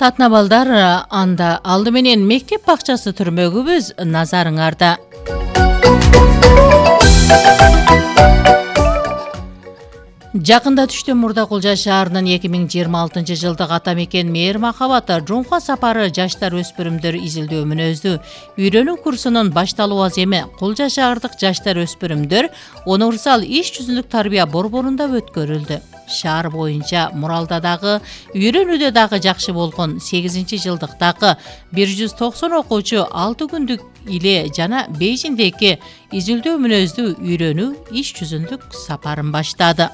Сатна балдар, анда алды менен мектеп бакчасы түрмөгүбүз назарыңарда. Жакында Түштөн Мурда Кулжа шаарынын 2026 жылдык ата мекен мээр махабат жумка сапары жаштар өспүрүмдөр изилдөө мүнөздүү үйрөнүү курсунун башталуу аземи Кулжа шаардык жаштар өспүрүмдөр универсал иш жүзүндүк тарбия борборунда өткөрүлдү. Шаар боюнча Муралда дагы, үйрөнүүдө дагы жакшы болгон 8-жылдыктагы 190 окуучу 6 күндүк иле жана Бейжиңдеги изилдөө мүнөздүү үйрөнүү иш жүзүндүк сапарын баштады.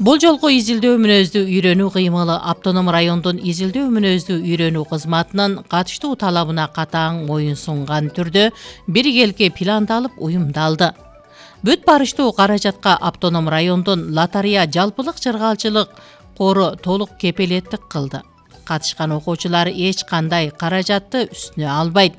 Бул жолку изилдөө мүнөздүү үйрөнүү кыймылы автоном райондун изилдөө мүнөздүү үйрөнүү кызматынын катыштуу талабына катаң моюн сунган түрдө биргеликке пландалып уюмдалды. Бүт барыштуу каражатка автоном райондун лотерея жалпылык чыргалчылык кору толук кепилеттик кылды. Катышкан окуучулар эч кандай каражатты үстүнө албайт.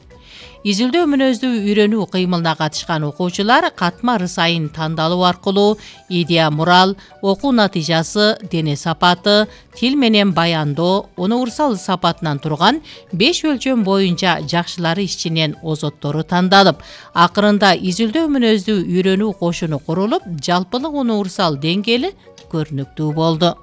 Изилдөө мүнөздүү үйрөнүү кыймылына катышкан окуучулар катмар сайын тандалуу аркылуу идея мурал, окуу натыйжасы, дене сапаты, тил менен баяндоо, универсал сапатынан турган 5 өлчөм боюнча жакшылары ичинен озоттору тандалып, акырында изилдөө мүнөздүү үйрөнүү кошуну курулуп, жалпылык универсал деңгээли көрүнүктүү болду.